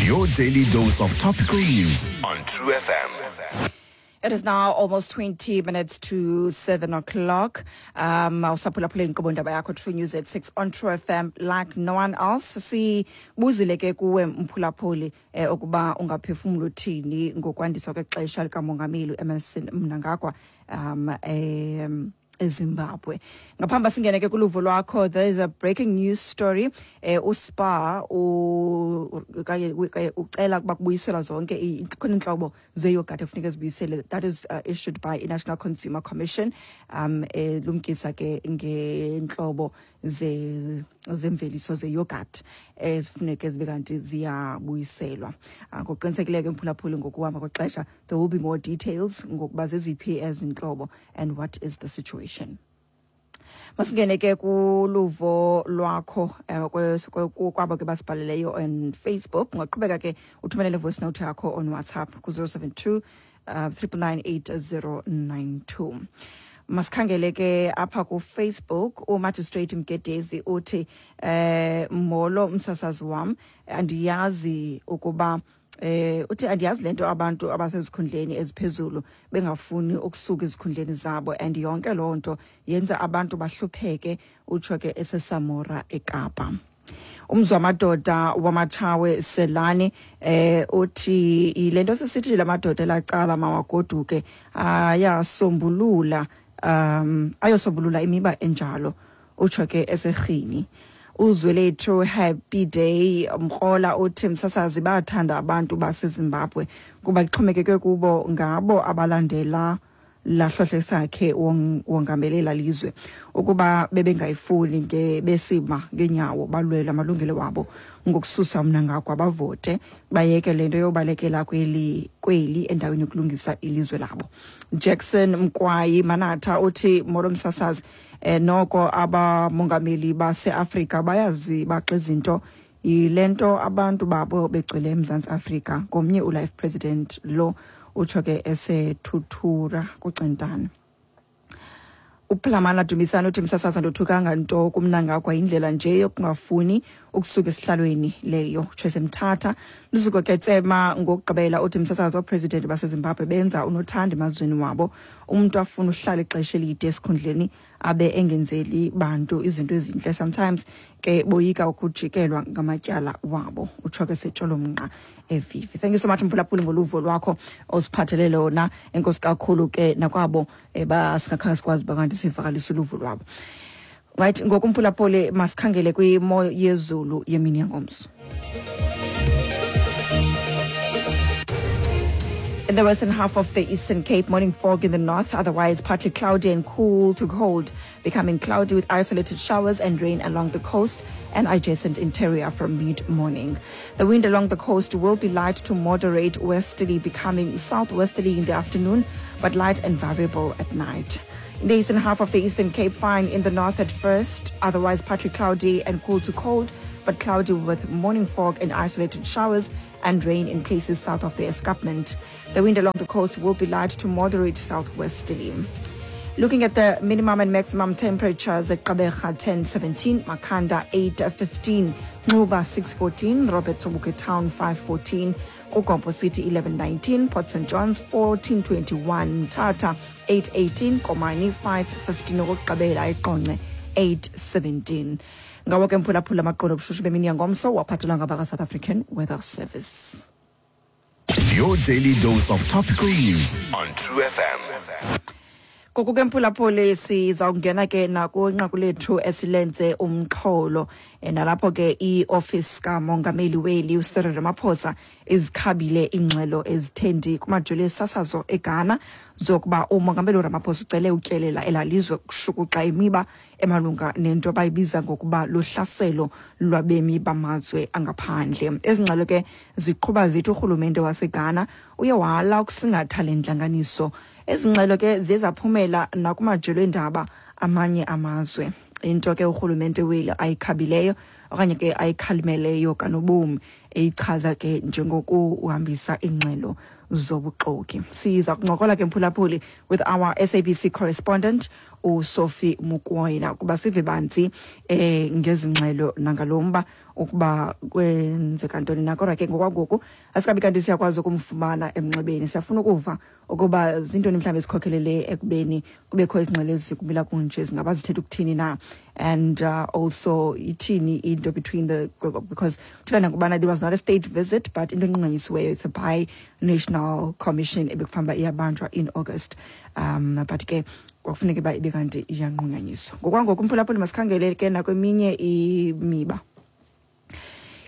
Your daily dose of topical news on True FM. It is now almost 20 minutes to 7 o'clock. Awusaphulaphula inkqubo ndaba yakho True News at 6 on True FM like no one else. Sibuzile ke kuwe mphulaphuli ukuba ungaphefumula uthini ngokwandiswa kwexesha likamongameli uEmmerson Mnangagwa eZimbabwe. Ngaphambi singene ke kuluvo lwakho, there is a breaking news story. USpar kanye ucela ukuba kubuyiselwa zonke khona iintlobo zeyogathi ekufuneka zibuyisele. That is issued by i-National Consumer Commission, elumkisa ke ngeentlobo zemveliso zeyogurt ezifuneke zibe kanti ziyabuyiselwa. Ngokuqinisekileyo ke mphulaphuli, ngokuhamba kwexesha there will be more details ngokuba zeziphi ezi ntlobo and what is the situation. Masingene ke kuluvo lwakho kwabo ke basibhaleleyo on Facebook. Ungaqhubeka ke uthumelele voice note yakho on WhatsApp ku-072 9998092. Masikhangele ke apha kuFacebook. UMagistrate Mgedezi uthi, "Molo msasazi wam, andiyazi ukuba uthi andiyazi lento abantu abasezikhundleni eziphezulu bengafuni ukusuka ezikhundleni zabo, and yonke loo nto yenza abantu bahlupheke." Utsho ke eseSamora eKapa. Umzwamadoda wamatshawe Selani uthi le nto sisithi lamadoda elacala mawagoduke ayasombulula ayosombulula imiba enjalo. Utsho ke eserhini. Uzwelethu Happy Day Mkrola uthi, "Msasazi, bathanda abantu baseZimbabwe kuba kuxhomekeke kubo, ngabo abalandela lahlohle sakhe wongamelela lizwe. Ukuba bebengayifuni nge besima ngenyawo balwela amalungelo wabo ngokususa uMnangagwa, bavote bayeke lento yobalekela kweli endaweni yokulungisa ilizwe labo." Jackson Mkwayi Manatha uthi, "Molo msasazi, noko abamongameli baseAfrika bayazibaxa izinto, yile nto abantu babo begcwele eMzantsi Afrika. Ngomnye ulife president lo." Utsho ke eseThuthura kuCentane. UPlamana Dumisani uthi, "Msasazi, ndothukanga nto kuMnangagwa, indlela nje yokungafuni ukusuka esihlalweni leyo." Utsho esemthatha. Luzuko Ketsema ngokugqibela uthi, "Msasazi, oopresident baseZimbabwe benza unothanda emazweni wabo. Umntu afuna uhlala ixesha elide esikhundleni abe engenzeli bantu izinto ezintle. Sometimes ke boyika ukujikelwa ngamatyala wabo." Utsho ke setsholomnqa evivi. Thank you so much mphulaphuli ngoluvo lwakho osiphathele lona. Enkosi kakhulu ke nakwabo basingakhange sikwazi uba kanti sivakalise uluvo lwabo. Right, ngoku mphulaphuli masikhangele kwimo yezulu yemini yangomso. In the western half of the Eastern Cape, morning fog in the north, otherwise partly cloudy and cool to cold, becoming cloudy with isolated showers and rain along the coast and adjacent interior from mid-morning. The wind along the coast will be light to moderate westerly, becoming southwesterly in the afternoon, but light and variable at night. In the eastern half of the Eastern Cape, fine in the north at first, otherwise partly cloudy and cool to cold, but cloudy with morning fog and isolated showers and rain in places south of the escarpment. The wind along the coast will be light to moderate southwesterly. Looking at the minimum and maximum temperatures at Gqeberha 10:17, Makhanda 8:15, Nxuba 6:14, Robert Sobukwe Town 5:14, KuGompo City 11:19, Port St Johns 14:21, Mthatha 8:18, Komani 5:15, okokugqibela eQonce 8:17. Ngawo ke mphulaphula amaqondo obushushu bemini yangomso waphathelwa ngabaka-South African Weather Service. Your daily dose of topical news on True FM. Ngoku ke mphulaphuli sizawungena ke nakwinqaku lethu esilenze umxholo, nalapho ke iofisi kamongameli weli uCyril Ramaphosa izikhabile iingxelo ezithendi kumajelo esasazo eGhana zokuba umongameli uRamaphosa ucele utyelela elalizwe kushukuxa imiba emalunga nento abayibiza ngokuba luhlaselo lwabemi bamazwe angaphandle. Ezi ngxelo ke ziqhuba zithi urhulumente waseGhana uye wala ukusingatha le ntlanganiso. Ezi ngxelo ke ziye zaphumela nakumajelo eendaba amanye amazwe, into ke urhulumente weli ayikhabileyo okanye ke ayikhalimeleyo kanobomi, eyichaza ke njengokuhambisa iingxelo zobuxoki. Siza kuncokola ke mphulaphuli with our SABC correspondent. uSophie Mokoena kuba sive banzi ngezingxelo nangalomba ukuba kwenzeka ntoni na. Kodwa ke ngokwangoku asikabi kanti siyakwazi ukumfumana emnxebeni. Siyafuna ukuva ukuba zintoni mhlawumbi ezikhokhelele ekubeni kubekho izingxelo ezikumila kunje, zingaba zithetha ukuthini na, and also ithini into between the, because kuthiwa nangubana there was not a state visit, but into enqunganyisiweyo, it's a bi-national commission ebekufanele uba iyabanjwa in August, but ke kwakufuneka uba ibe kanti iyanqunyanyiswa. Ngokwangoku, umphulaphuli, masikhangele ke nakweminye imiba.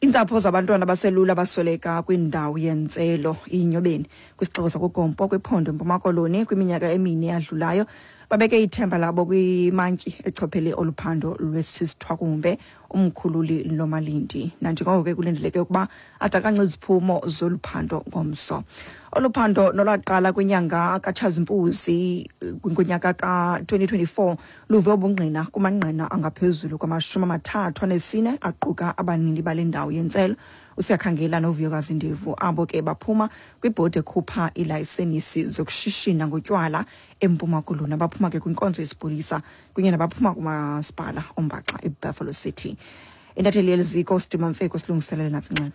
Iintsapho zabantwana abaselula abasweleka kwindawo yentselo iNyobeni kwisixeko sakuGompo kwiphondo eMpuma Koloni kwiminyaka emine eyadlulayo babeke ithemba labo kwimantyi echophele olu phando lwesisithwakumbe, uMkhululi Lomalindi, nanjengoko ke kulindeleke ukuba adakance iziphumo zolu phando ngomso. Olu phando nolwaqala kwinyanga kaTshazimpuzi ngonyaka ka-2024 luve ubungqina kumangqina angaphezulu kwama-34 aquka abanini bale ndawo yentselo, uSiyakhangela noVuyokazi Ndevu, abo ke baphuma kwibhodi ekhupha iilayisenisi zokushishina ngotywala eMpuma Koloni, abaphuma ke kwinkonzo yesipolisa kunye nabaphuma kumasipala ombaxa iBuffalo City. Intatheli yeliziko uSidima Mfeko silungiselele nantsi ingxelo.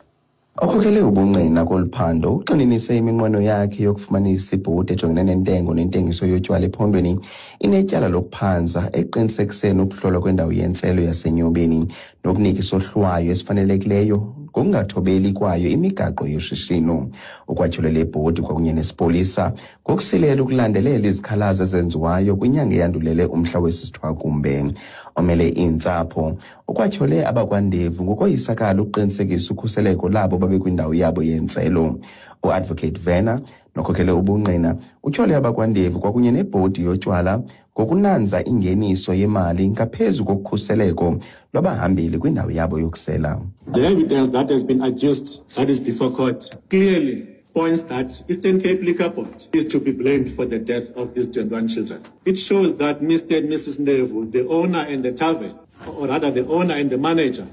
Okhokele ubungqina kolu phando ugxininise iminqweno yakhe yokufumanisa ibhodi ejongene nentengo nentengiso yotywala ephondweni inetyala lokuphanza ekuqinisekiseni ukuhlolwa kwendawo yentselo yaseNyobeni nokunika isohlwayo esifanelekileyo ngokungathobeli kwayo imigaqo yoshishino. Ukwatyholela ibhodi kwakunye nesipolisa ngokusilela ukulandelela izikhalazo ezenziwayo kwinyanga eyandulele umhla wesisithwakumbe. Omele iintsapho ukwatyhole abakwandevu ngokoyisakala ukuqinisekisa ukhuseleko labo babekwindawo yabo yentselo. UAdvocate Werner nokhokele ubungqina utyhole abakwandevu kwakunye nebhodi yotywala ngokunanza ingeniso yemali ngaphezu kokukhuseleko lwabahambeli kwindawo yabo yokusela. The evidence that has been adduced, that is before court, clearly points that Eastern Cape Liquor Board is to be blamed for the death of these 21 children. It shows that Mr. and Mrs. Ndevu, the owner and the tavern, or rather the owner and the manager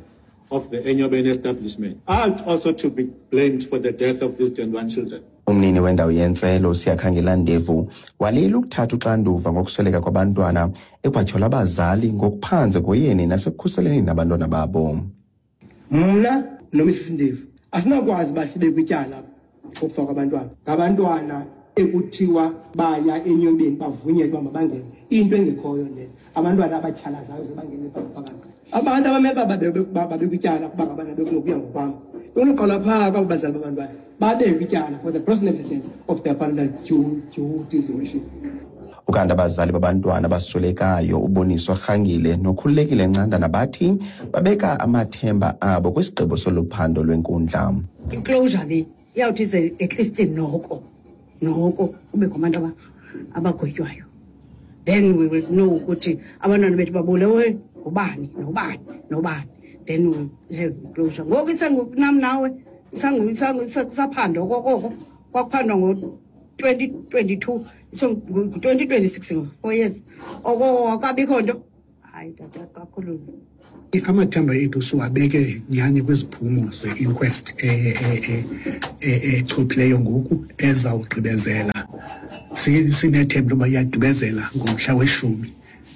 of the Enyobeni establishment, are also to be blamed for the death of these 21 children. Umnini wendawo yentselo uSiyakhangela Ndevu walile ukuthatha uxanduva ngokusweleka kwabantwana, ekwatyhola abazali ngokuphanze koyeni nasekukhuseleni abantwana babo. Mna noMrs Ndevu asinakwazi uba sibe kwityala kokufa kwabantwana, ngabantwana ekuthiwa baya eNyobeni bavunyelwe uba mabangene, into engekhoyo leyo. Abantwana abatyhalazayo ze bangene phakathi, abantu abamele uba babe kwityala kuba ngabana bekunokuya ngokwam bekunoqala phaa kwabo bazali babantwana babe kwityala for the gross negligence of their parental duties worship. Ukanti abazali babantwana abaswelekayo, uBoniswa Rhangile noKhululekile Ncandana, bathi babeka amathemba abo kwisigqibo solu phando lwenkundla. Iclosure le iyawuthi ze at least noko kubekho abantu abagwetywayo, then we will know ukuthi abantwana bethu babulewe ngubani, nobani, nobani, then we will have closure. Ngoku isengunam nawe kusaphandwa okokoko kwakuphandwa ngo-2022, so ngu-2026 ngoku, 4 years oko akabikho nto. Hayi tata, kakhulu. Amathemba ethu siwabeke nyhani kwiziphumo ze-inquest echophileyo ngoku ezawugqibezela. Sinethemba uba iyagqibezela ngomhla we-10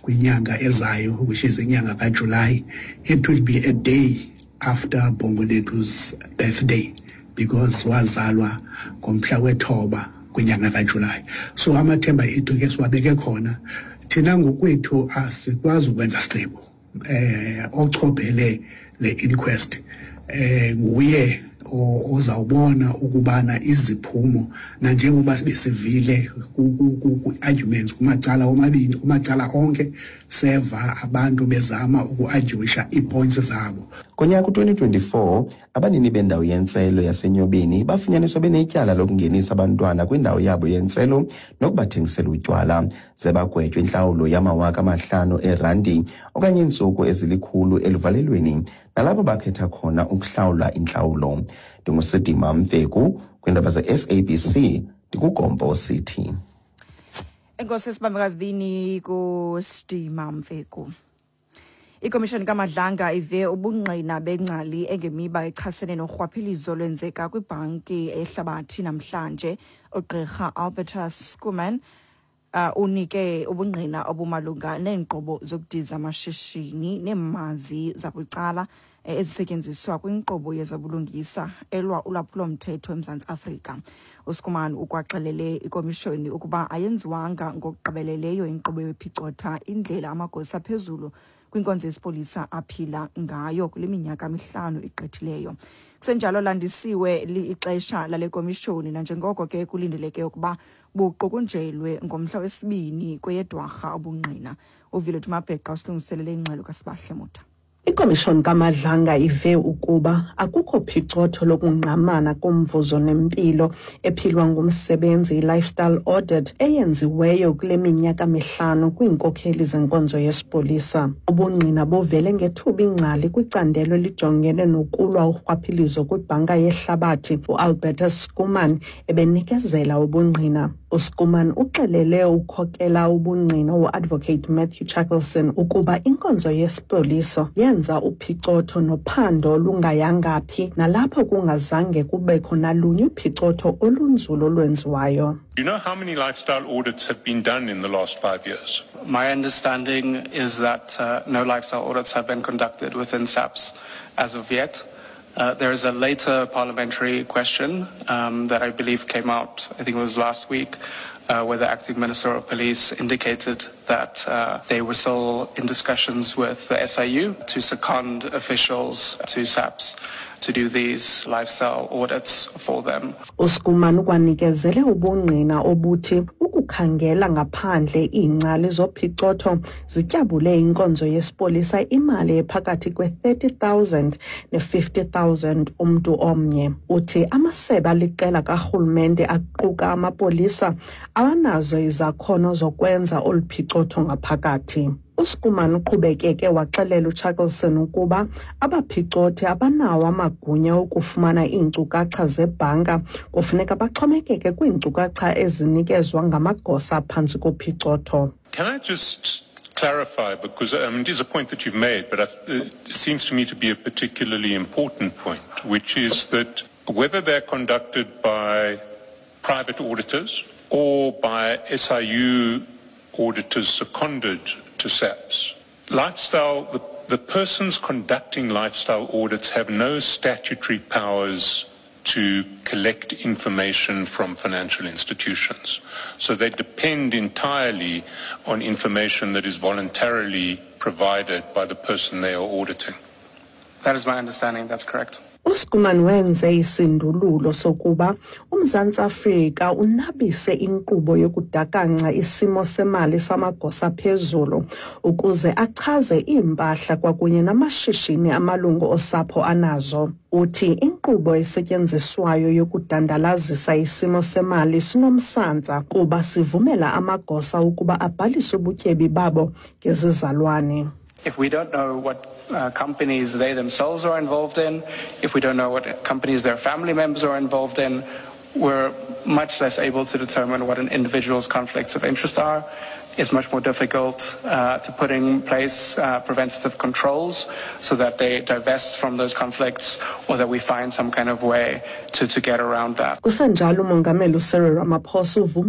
kwinyanga ezayo, which is inyanga kaJulayi. It will be a day after Bongolethu's birthday, because wazalwa ngomhla we-9 kwinyanga kaJulayi. So amathemba ethu ke siwabeke khona. Thina ngokwethu asikwazi ukwenza sigqibo. Ochophele le inquest nguye ozawubona ukubana iziphumo, nanjengoba besivile ku-arguments kumacala omabini, kumacala onke, seva abantu bezama uku-arguisha ii-points zabo. Konyaka u-2024 abanini bendawo yentselo yaseNyobeni bafunyaniswa benetyala lokungenisa abantwana kwindawo yabo yentselo nokubathengisela utywala, ze bagwetywe intlawulo yama-5,000 eerandi okanye iintsuku ezilikhulu eluvalelweni, nalapho bakhetha khona ukuhlawula intlawulo. NdinguSidima Mfeku kwiindaba ze-SABC, ndikuGompo City. Enkosi sibambekazibini kuSidima Mfeku. Ikomishoni kaMadlanga ive ubungqina bengcali engemiba echasene norhwaphilizo lwenzeka kwibhanki ehlabathi namhlanje. Ugqirha Albertus Schoeman Unike ubungqina obumalunga neenkqubo zokudiza amashishini neemazi zabucala ezisetyenziswa kwinkqubo yezobulungisa elwa ulwaphulomthetho eMzantsi Afrika. USchoeman ukwaxelele ikomishoni ukuba ayenziwanga ngokugqibeleleyo inkqubo yophicotha indlela amagosa aphezulu kwinkonzo yesipolisa aphila ngayo kule minyaka mihlanu igqithileyo. Kusenjalo, landisiwe ixesha lale komishoni nanjengoko ke kulindeleke ukuba buqukunjelwe ngomhla wesibini kweyeDwarha ubungqina. UVilet Mabheqa usilungiselele ingxelo kaSibahle Motha. Ikomishoni kaMadlanga ive ukuba akukho phicotho lokungqamana komvuzo nempilo ephilwa ngumsebenzi, i-lifestyle audit, eyenziweyo kule minyaka mihlanu kwiinkokheli zenkonzo yesipolisa. Ubungqina buvele ngethuba ingcali kwicandelo elijongene nokulwa urhwaphilizo kwibhanka yehlabathi, uAlbertus Schoeman, ebenikezela ubungqina. USchoeman uxelele ukhokela ubungqina uAdvocate Matthew Chaskalson ukuba inkonzo yesipolisa yenza uphicotho nophando olungayanga phi, nalapho kungazange kubekho nalunye uphicotho olunzulu olwenziwayo. Do you know how many lifestyle audits have been done in the last 5 years? My understanding is that no lifestyle audits have been conducted within SAPS as of yet. There is a later parliamentary question that I believe came out, I think it was last week, where the acting minister of police indicated that they were still in discussions with the SIU to second officials to SAPS to do these lifestyle audits for them. USchoeman ukwanikezele ubungqina obuthi ukukhangela ngaphandle iingcali zophicotho zityabule inkonzo yesipolisa imali ephakathi kwe-30,000 ne-50,000 umntu omnye. Uthi amasebe aliqela karhulumente aquka amapolisa awanazo izakhono zokwenza olu phicotho ngaphakathi. USchoeman uqhubekeke waxelela uChaskalson ukuba abaphicothi abanawo amagunya okufumana iinkcukacha zebhanka, kufuneka baxhomekeke kwiinkcukacha ezinikezwa ngamagosa phantsi kophicotho. Can I just clarify, because it is a point that you've made, but it seems to me to be a particularly important point, which is that whether they're conducted by private auditors or by SIU auditors seconded to SAPS, the persons conducting lifestyle audits have no statutory powers to collect information from financial institutions. So they depend entirely on information that is voluntarily provided by the person they are auditing. That is my understanding. That's correct. USchoeman wenze isindululo sokuba uMzantsi Afrika unabise inkqubo yokudakanca isimo semali samagosa phezulu ukuze achaze iimpahla kwakunye namashishini amalungu osapho anazo. Uthi inkqubo esetyenziswayo yokudandalazisa isimo semali sinomsantsa kuba sivumela amagosa ukuba abhalise ubutyebi babo ngezizalwane. If we don't know what companies they themselves are involved in, if we don't know what companies their family members are involved in, we're much less able to determine what an individual's conflicts of interest are. It's much more difficult to put in place preventative controls so that they divest from those conflicts or that we find some kind of way to get around that. Kusenjalo, uMongameli uCyril Ramaphosa uvumile